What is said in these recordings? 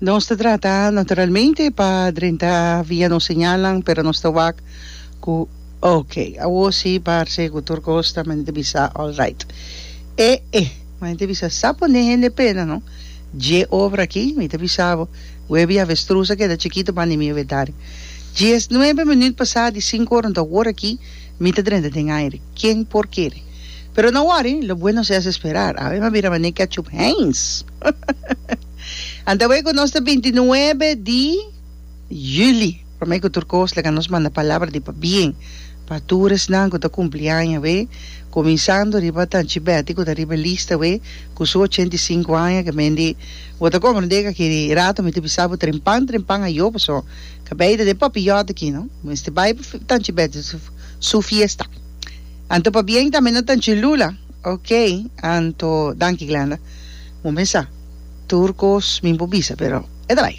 Nos ta trata naturalmente pa drenta via nos señalnan, pero nos ta wak ku ok, awor si parse ku tur kos ta manera ta bisa all right. E e, manera ta bisa sa pone hende pena no, dje obra aki mi ta bisa bo, webi avestruz a keda chikito banda di mi inventario. Diesnuebe minuut pasá di sinku ora anto awor aki mi ta drenta den aire, ken por kere? Pero no worry, lo bueno se hace esperar, awe mi a bira manera ketchup Heinz. Anto awor ku nos ta bintinuebe di juli, promé ku tur kos laga nos manda palabra di pabien pa tur esnan ku ta kumpli aña awe, kuminsando riba Tanchi Betty ku ta riba e lista awe ku su 85 aña ke men di bo ta komprendé ku aki rato mi ta bisa bo trempan trempan ayo paso kabei ta den papiyòt aki no, mester bai pa Tanchi Betty su fiesta. Anto pabien tambe na Tanchi Lula, ok, anto danki Glenda. Bo mes sa tur kos mi por bisa pero e ta bai.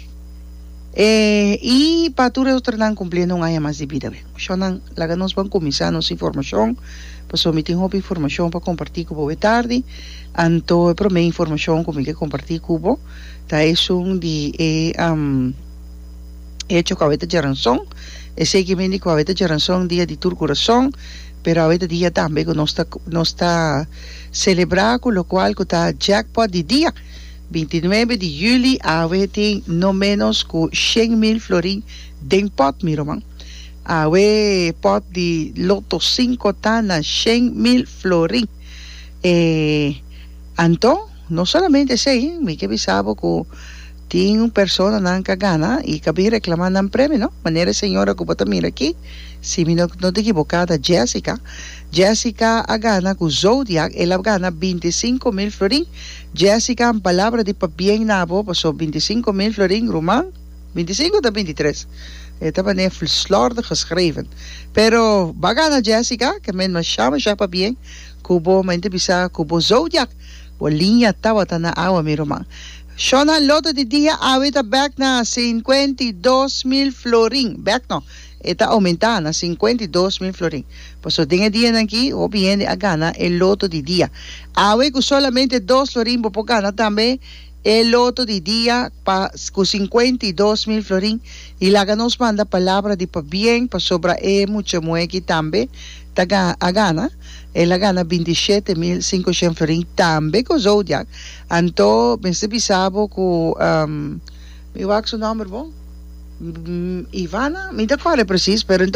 E i pa tur e otronan kumpliendo un aña mas di bida be. Shonnan laga nos ban kuminsá nos informashon pasobra mi tin hopi informashon pa kompartí ku bo e tardi. Anto e promé informashon ku mi ke kompartí ku bo ta esun di e hecho ku awe ta djaranson. Esei ke mindi ku awe ta djaranson dia di tur kurason pero awe ta dia tambe ku nos ta nos ta Selebrá ku lokual ku ta jackpot di dia 29 di yüli awe tin no ménos ku 100,000 florin den pòt mi ruman. Awe pòt di Lotto sinku ta na 100,000 florin. E anto no solamente esei, mi ke bisa bo ku tin un personanan ka gana i ka bin reklamá nan premio no, manera e señora ku bo ta mira aki, si mi no ta ekiboká ta Jessica. Jessica a gana ku Zodiac, el a gana 25,000 florin. Jessica, un palabra di pabien na bo, paso 25,000 florin, ruman, 25 ta 23? E ta manera slordig geschreven. Pero bo a gana Jessica, ke men masha masha pabien ku bo, men ta bisa ku bo Zodiac, bo liña tabata na awa mi ruman. Shona Lotto di dia awe ta bek na 52,000 florin, bek no, e ta oumentá na 52,000 florin. Pasobra den e dianan aki hopi hende a gana e loto di dia. Awe ku solamente dos florin bo por gana tambe e loto di dia pa ku 52,000 florin i laga nos manda palabra di pabien pasobra e mucha muhé aki tambe ta a gana. El a gana 27,500 florin tambe ku Zodiac. Anto mester bisa bo ku mi wak su nòmber bon? Ivana? Mi ta kòrda presis pero.